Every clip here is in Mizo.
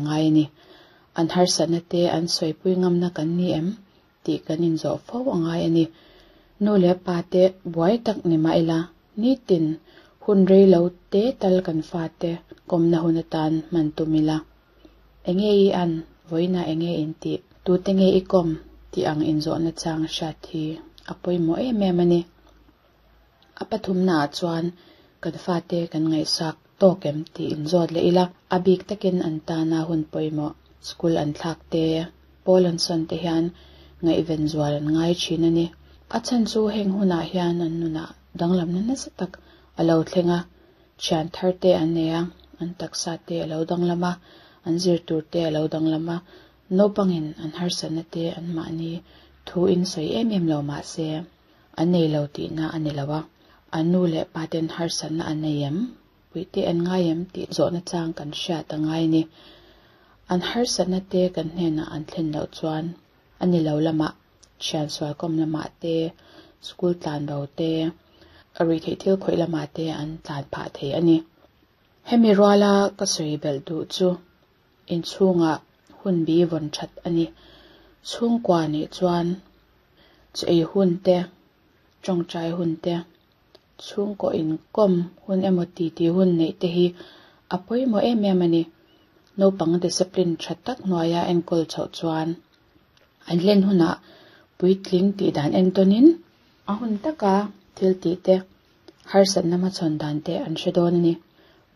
ngai a ni. An harsatna te an sawipui ngamna kan ni em tih kan inzawh fo a ngai a ni. Nu leh pa te buai tak ni mah ila, nitin hun rei lo te tal kan fate kawmna hun atan hman tum ila. Enge i an, vawiinah enge in tih, tute nge i kawm tih ang inzawhna chang hriat hi a pawimawh em em a ni. A pathumnaah chuan kan fate kan ngaihsak tawk em tih inzawt leh ila, a bik takin an tana hun pawimawh, school an thlak te, pawl an sawn te hian ngaihven zual an ngai thin a ni. A chhan chu heng hunah hian an nunah danglamna nasa tak a lo thleng a, thian thar te an nei a, an taksa te a lo danglam a, an zirtur te a lo danglam a, naupangin an harsatna te anmahni thu in sawi em em lo mah se, an nei lo tihna a ni lo a, an nu leh pa ten harsatna an nei em, puihte an ngai em tih zawhna chang kan hriat a ngai a ni. An harsatna te kan hnenah an thlen loh chuan a ni lo lamah, thian sualkawm lamah te, school tlan bo te, ruihtheih thil khawih lamah te an tlan phah thei a ni. Hemi ruala ka sawi belh duh chu inchhungah hun bi vawn that a ni. Chhungkua nih chuan chu ei hun te, tawngtai hun te, chhungkaw inkawm hun emaw titi hun neih te hi a pawimawh em em a ni. Naupang discipline tha tak hnuaia enkawl chhoh chuan an hlen hunah puitling tih dan entawnin a hun taka thil tih te, harsatna hmachhawn dan te an hre dawn a ni.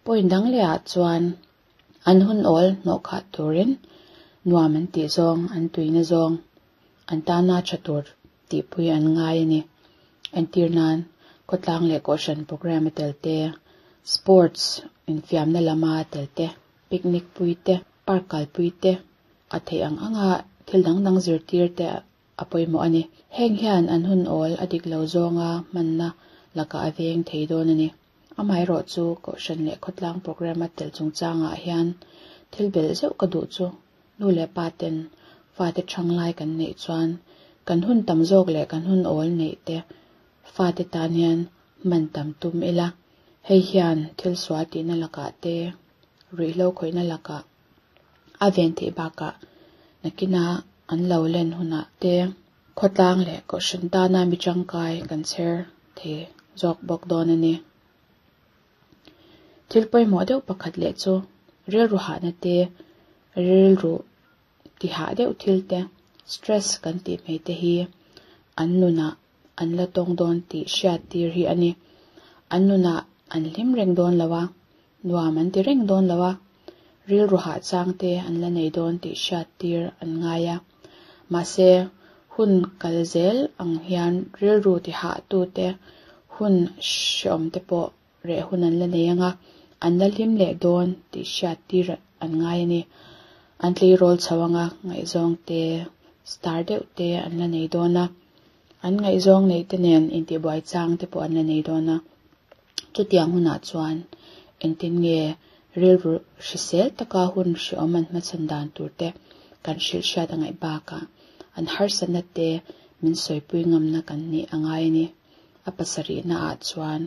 Point dang lehah chuan an hun awl hnawh khah turin nuam an tih zawng, an tuina zawng, an tana tha tur tihpui an ngai a ni. Entir nan khawtlang leh kohhran programme a tel te, sports infiamna lama tel te, picnic pui te, park kalpui te, a theih ang anga thil dang dang zirtir te a pawimawh a ni. Heng hian an hun awl a dik lo zawnga hmanna lakah a veng thei dawn a ni. Amaherawhchu kohhran leh khawtlang programme a tel chungchangah hian thil belh zeuh ka duh chu nu leh pa ten fate thanglai kan neih chuan kan hun tam zawk leh kan hun awl neih te fate tan hian hman tam tum ila. Hei hian thil sual tihna lakah te, ruihhlo khawihna lakah a ven theih bakah nakina an lo len hunah te khawtlang leh kohhran tana mi tangkai kan chher thei zawk bawk dawn a ni. Thil pawimawh deuh pakhat leh chu rilru hahna te, rilru tihah deuh thil te, stress kan tih mai te hi an nunah an la tawng dawn tih hriat tir hi a ni. An nunah an hlim reng dawn lo a, nuam an ti reng dawn lo a, rilru hah chang te an la nei dawn tih hriat tir an ngai a. Mahse, hun kal zel ang hian rilru tihah tu te, hun hreawm te pawh reh hun an la nei ang a, an la hlim leh dawn tih hriat tir an ngai a ni. An tleirawl chho ang a, ngaihzawng te, star deuh te an la nei dawn a, an ngaihzawng neih te nen intihbuai chang te pawh an la nei dawn a. Chutiang hunah chuan engtin nge rilru hrisel taka hun hreawm an hmachhawn dan tur te kan hrilh hriat a ngaih bakah an harsatna te min sawipui ngamna kan nih a ngai a ni. A pasarihna ah chuan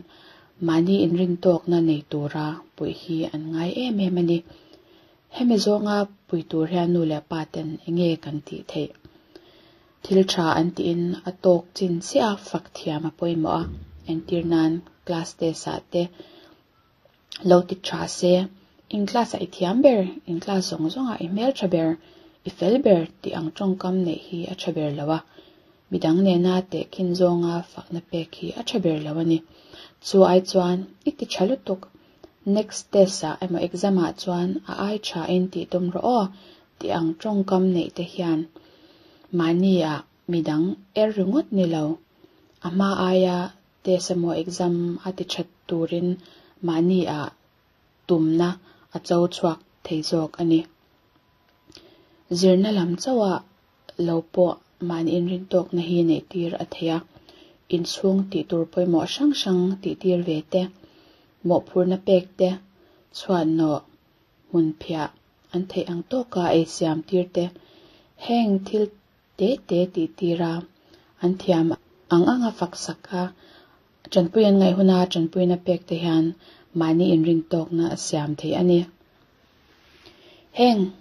mahni inrintawkna nei tura puih hi an ngai em em a ni. Hemi zawnga pui tur hian nu leh pa ten enge kan tih theih? Thil tha an tiin a tawk chin chiah a fak thiam a pawimawh a, entir nan class test ah te lo ti tha se, in class ah i thiam ber, in class zawng zawng ah i hmel tha ber, i fel ber tih ang tawngkam neih hi a tha ber lo a, midang nena tehkhin zawnga fakna pek hi a tha ber lo a ni. Chu ai chuan i ti tha lutuk, next test ah emaw exam ah chuan a ai tha in tih tum rawh aw tih ang tawngkam neih te hian mahni ah midang er ringawt ni lo, a hma aia test emaw exam a ti that turin mahni ah tumna a cho chhuak thei zawk a ni. Zirna lam chauhah lo pawh mahni inrintawkna hi neih tir a thei a, inchhung tih tur pawimawh hrang hrang tih tir ve te, mawhphurhna pek te, chhuanawh hmun phiah an theih ang tawka ei siam tir te, heng thil te te tih tir a, an thiam ang anga fak sak a, tanpui an ngaih huna tanpuina pek te hian mahni inrintawkna a siam thei a ni. Heng.